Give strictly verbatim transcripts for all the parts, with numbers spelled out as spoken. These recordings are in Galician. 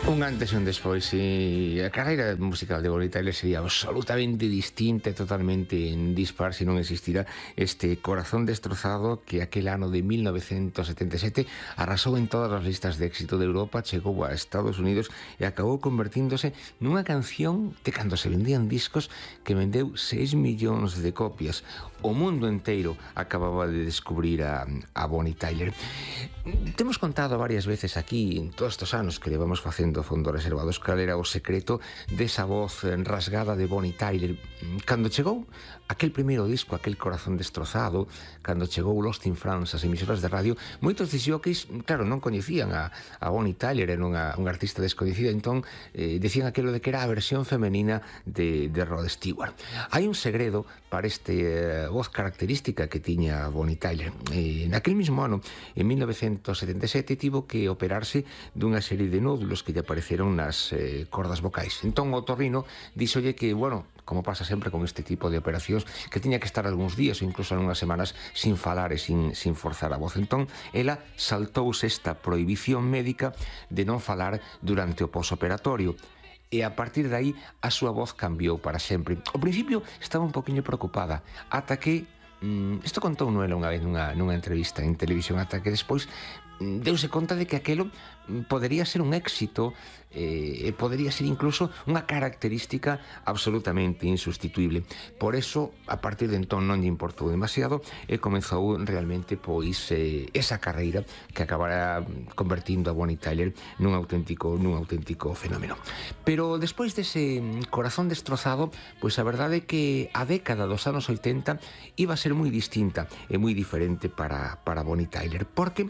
Un antes e un despois, e a carreira musical de Bonnie Tyler sería absolutamente distinta e totalmente dispar se non existira este Corazón Destrozado que aquel ano de mil novecentos setenta e sete arrasou en todas as listas de éxito de Europa, chegou a Estados Unidos e acabou convertíndose nunha canción de cando se vendían discos que vendeu seis millóns de copias. O mundo inteiro acababa de descubrir a, a Bonnie Tyler. Temos contado varias veces aquí, en todos estes anos que levamos facendo Fondo Reservados, cal era o secreto desa voz rasgada de Bonnie Tyler. Cando chegou aquel primeiro disco, aquel Corazón Destrozado, cando chegou Lost in France, as emisoras de radio, moitos disjockeys, claro, non coñecían a, a Bonnie Tyler, era unha, unha artista descoñecida, entón eh, decían aquilo de que era a versión femenina de, de Rod Stewart. Hai un segredo para este eh, voz característica que tiña Bonnie Tyler. Eh, naquel mismo ano, en mil novecentos setenta e sete, tivo que operarse dunha serie de nódulos que lle apareceron nas eh, cordas vocais. Entón o otorrino díxolle que, bueno, como pasa sempre con este tipo de operacións, que tiña que estar algúns días ou incluso algunhas semanas sin falar e sin, sin forzar a voz. Entón, ela saltouse esta prohibición médica de non falar durante o posoperatorio. E a partir de aí a súa voz cambiou para sempre. Ao principio estaba un poquinho preocupada, ata que mm, isto contou ela unha vez nunha, nunha entrevista en televisión, ata que despois mm, deuse conta de que aquelo podería ser un éxito e eh, podería ser incluso unha característica absolutamente insustituible. Por eso, a partir de entón non lle importou demasiado e comezou realmente pois eh, esa carreira que acabará convertindo a Bonnie Tyler nun auténtico nun auténtico fenómeno. Pero despois dese Corazón Destrozado, pois a verdade é que a década dos anos oitenta iba a ser moi distinta e moi diferente para, para Bonnie Tyler, porque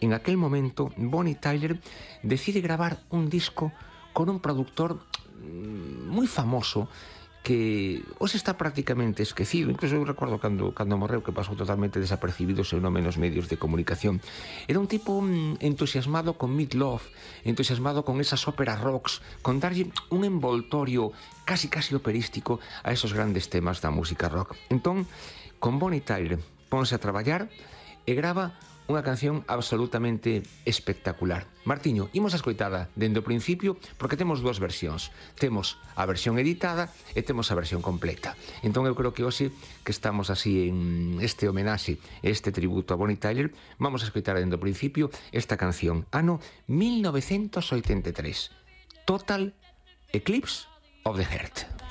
en aquel momento Bonnie Tyler decide gravar un disco con un productor moi famoso que hoxe está prácticamente esquecido. Incluso eu recordo cando, cando morreu que pasou totalmente desapercibido o seu nome nos medios de comunicación. Era un tipo entusiasmado con Meat Loaf, entusiasmado con esas óperas rocks, con darlle un envoltorio casi casi operístico a esos grandes temas da música rock. Entón, con Bonnie Tyler ponse a traballar e grava unha canción absolutamente espectacular. Martiño, imos a escoitada dende o principio porque temos dúas versións. Temos a versión editada e temos a versión completa. Entón eu creo que hoxe que estamos así en este homenaxe, este tributo a Bonnie Tyler, vamos a escoitar dende o principio esta canción, ano mil novecentos oitenta e tres, Total Eclipse of the Heart.